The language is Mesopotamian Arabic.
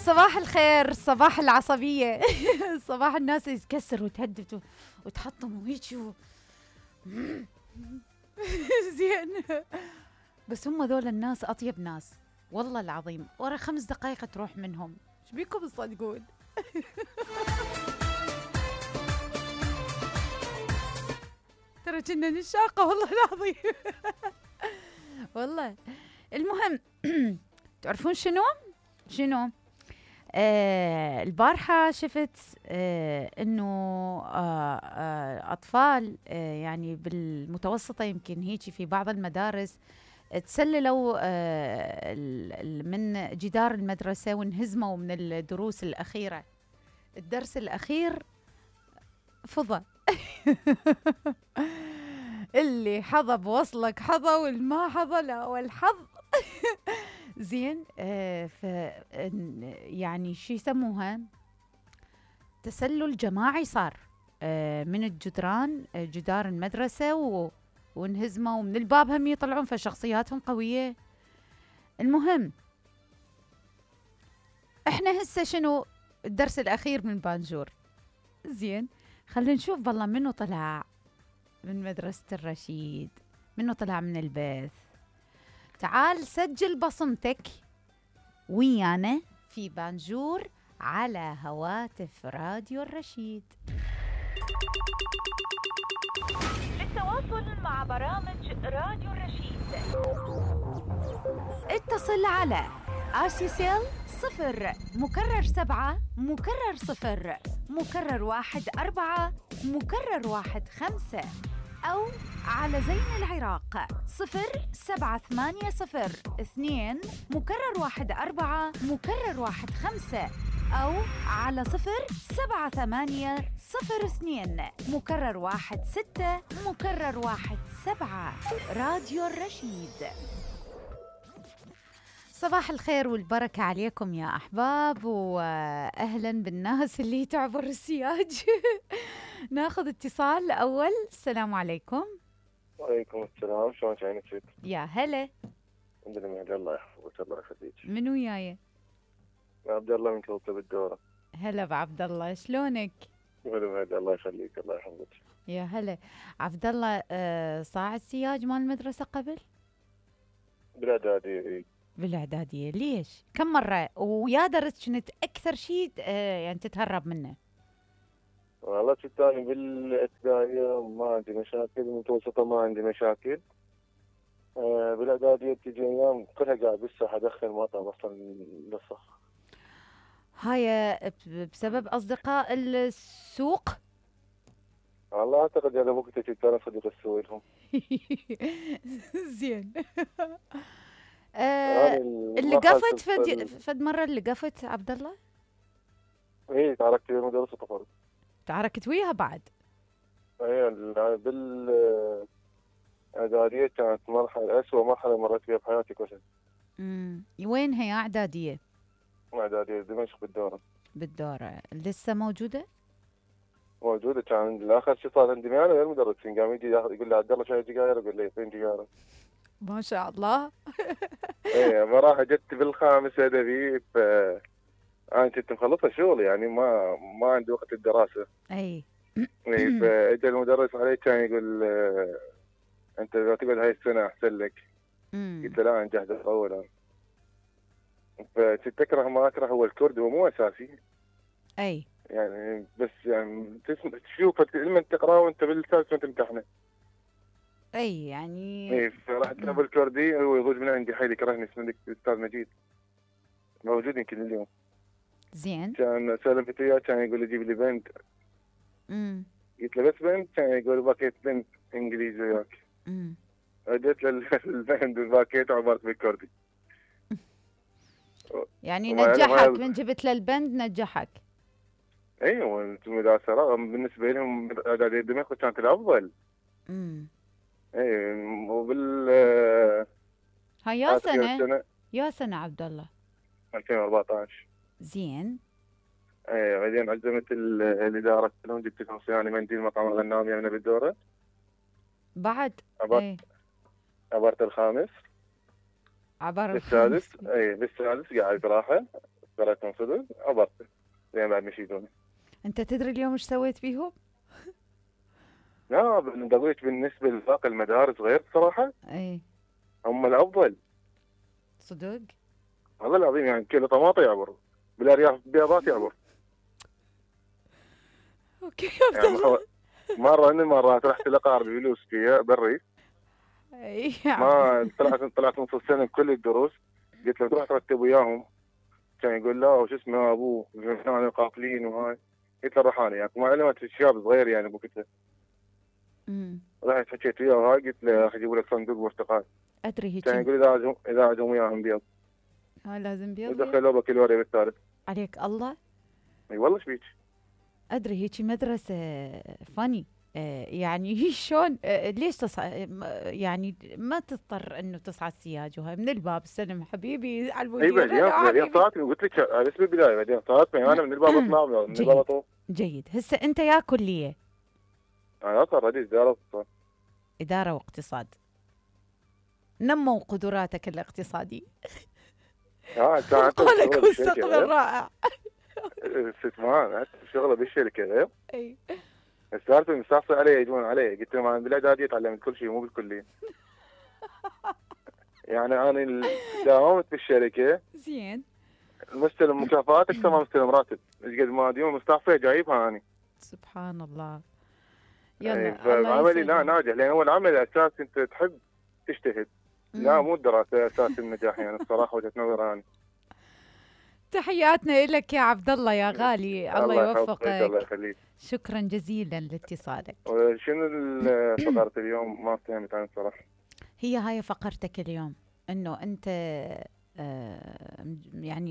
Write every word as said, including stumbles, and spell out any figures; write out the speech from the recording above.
صباح الخير، صباح العصبية. صباح الناس يتكسر وتهدد وتحطم وهيك و... زين. بس هم ذول الناس أطيب ناس والله العظيم، ورا خمس دقائق تروح منهم. ايش بيكم تصدقون؟ ترى كنا نشاقة والله العظيم. والله المهم. تعرفون شنو شنو آه البارحة شفت آه انه آه آه اطفال آه يعني بالمتوسطة يمكن هيك في بعض المدارس تسللوا آه من جدار المدرسة وانهزموا من الدروس الأخيرة. الدرس الأخير فضى. اللي حظى بوصلك حظى والما حظى لا والحظ. زين. آه ف يعني شو يسموها، تسلل جماعي صار آه من الجدران آه جدار المدرسة و وانهزموا ومن الباب هم يطلعون، فشخصياتهم قوية. المهم احنا هسه شنو الدرس الأخير من بانجور. زين، خلينا نشوف بالله منو طلع من مدرسة الرشيد، منو طلع من البث. تعال سجل بصمتك ويانا في بانجور على هواتف راديو الرشيد. للتواصل مع برامج راديو الرشيد اتصل على آسيسيل صفر مكرر سبعة مكرر صفر مكرر واحد أربعة مكرر واحد خمسة، أو على زين العراق صفر سبعة ثمانية صفر اثنين مكرر واحد أربعة مكرر واحد خمسة، أو على صفر سبعة ثمانية صفر اثنين مكرر واحد ستة مكرر واحد سبعة. راديو الرشيد. صباح الخير والبركة عليكم يا أحباب، وأهلا بالناس اللي تعبر السياج. ناخذ اتصال أول. السلام عليكم. وعليكم السلام، شلون عينك فيك؟ يا هلا. الحمد لله، الله يحفظك الله يخليك. من وياي؟ عبد الله من كوكب الدورة. هلا بعبد الله، شلونك؟ هلا الله يخليك الله يحفظك. يا هلا عبد الله. آه صاعد سياج مال المدرسة قبل؟ بالإعدادية. بالإعدادية. ليش؟ كم مرة؟ ويا درس كنت أكثر شيء آه يعني تتهرب منه؟ والله كنت أنا بالابتدائية ما عندي مشاكل، بالمتوسطة ما عندي مشاكل. آه بالإعدادية تجي أيام كلها قاعد بالساحة أدخن ما طعم أصلا للصف. هاي بسبب أصدقاء السوق؟ والله أعتقد أنا وقتها كنت أنا صديق السوق لهم. زين. آه اللي قفت فد, فد مرة اللي قفت عبد الله؟ إيه تعاركت ويا مدرسة طفل. تعاركت وياها بعد؟ إيه بال إعدادية كانت مرحلة أسوأ مرحلة مريت فيها بحياتي كلها. امم وين هي إعدادية؟ إعدادية دمشق بالدورة. بالدورة لسه موجودة؟ موجودة. كان آخر شيء صار عندي معي غير مدرسين، قام يجي يقول لي عبد الله شاي سجاير، اقول له فين سجاير؟ ما شاء الله. ايه ما راح جت بالخامس ادبي، ف انا كنت مخلصة شغل يعني ما ما عندي وقت الدراسة. اي. ايه فاجى المدرس علي كان يقول انت اذا تقعد هاي السنة احسن لك. قلت له لا انا جاهز اول. فكنت اكره ما اكره هو الكرد، هو مو اساسي. اي يعني بس يعني تسمع تشوفه لما تقراه وانت بالسادس وانت تمتحنه. اي يعني اي فرحت ابو الكردي هو يضوج من عندي حيل يكرهني اسمه الاستاذ مجيد، موجود يمكن اليوم. زين. كان سالفت وياه كان يقول لي جيب لي بنت. امم قلت له بس بنت؟ كان يقول باكيت بنت انجليزي وياك. امم اديت له البنت والباكيت وعبرت بالكردي. يعني نجحك من جبت له البند نجحك. ايوه المدرسه رغم بالنسبه لهم اعداديه دمشق كانت الافضل. امم اي وبال هاي يا سنه يا سنه عبد الله؟ ألفين وأربعطعش. زين. اي بعدين عزمت الاداره لهم، جبت لهم صيانه منديل مطعم الغنام يمنا بالدوره بعد. عبرت اي عبرت الخامس عبر السادس. اي بالسادس قاعد راحه، ف قريتهم صدق عبرت زين بعد مشيتوني. انت تدري اليوم ايش سويت فيهم؟ لا ندويت بالنسبه لباقي المدارس غير صراحه اي هم الافضل. صدق؟ والله العظيم يعني كيلو طماطم يعبر بالارياف بياضات يعبر. اوكي يعني مخو... مره من المرات رحت لاقاربي فلوس فيها بالريف. اي ما طلعت طلعت نص السنه بكل الدروس. قلت له تروح ترتب وياهم. كان يقول لا وش اسمه ابوه احنا قافلين وهاي. قلت له رحاني يعني ما علمت الشاب صغير يعني بوقتها. امم رحت حكيت وياه وهاي قلت له راح يجيبوا لك صندوق برتقال. ادري هيك. كان يقول اذا عزم اذا عزم وياهم بيض. ها لازم بيض. ودخلوا بكالوريا بالثالث. عليك الله. اي والله ايش بيك؟ ادري هيك مدرسه فاني. آه يعني شلون آه ليش تصع... يعني ما تضطر انه تصعد سياج وهاي من الباب السلم حبيبي على اي المدير. بعدين بعدين صارتني قلت لك اسم البدايه بعدين صارتني انا من الباب اطلع من الباب اطوف. جيد. هسه انت يا كليه؟ انا صار رئيس اداره اقتصاد. اداره واقتصاد. نموا قدراتك الاقتصاديه. اه كانت قولك مستقبل رائع. استثمار شغله بالشركه غير. اي السالفه مستعصي علي يجون علي قلت لهم انا بالاعداديه تعلمت كل شيء مو بالكليه. يعني انا داومت بالشركه زين. مستلم مكافآت اكثر ما مستلم راتب. ايش قد ما ديوم مستعصيه جايبها اني. سبحان الله. يلا ايه الله عملي لا ناجح لان هو العمل اساس انت تحب تجتهد. لا مو الدراسه اساس النجاح يعني الصراحه وجهه نظر انا. تحياتنا لك يا عبد الله يا غالي. الله يوفقك. الله يخليك. شكرا جزيلا لاتصالك. شنو فقرة اليوم ما فهمت انا الصراحه. هي هاي فقرتك اليوم انه انت آه يعني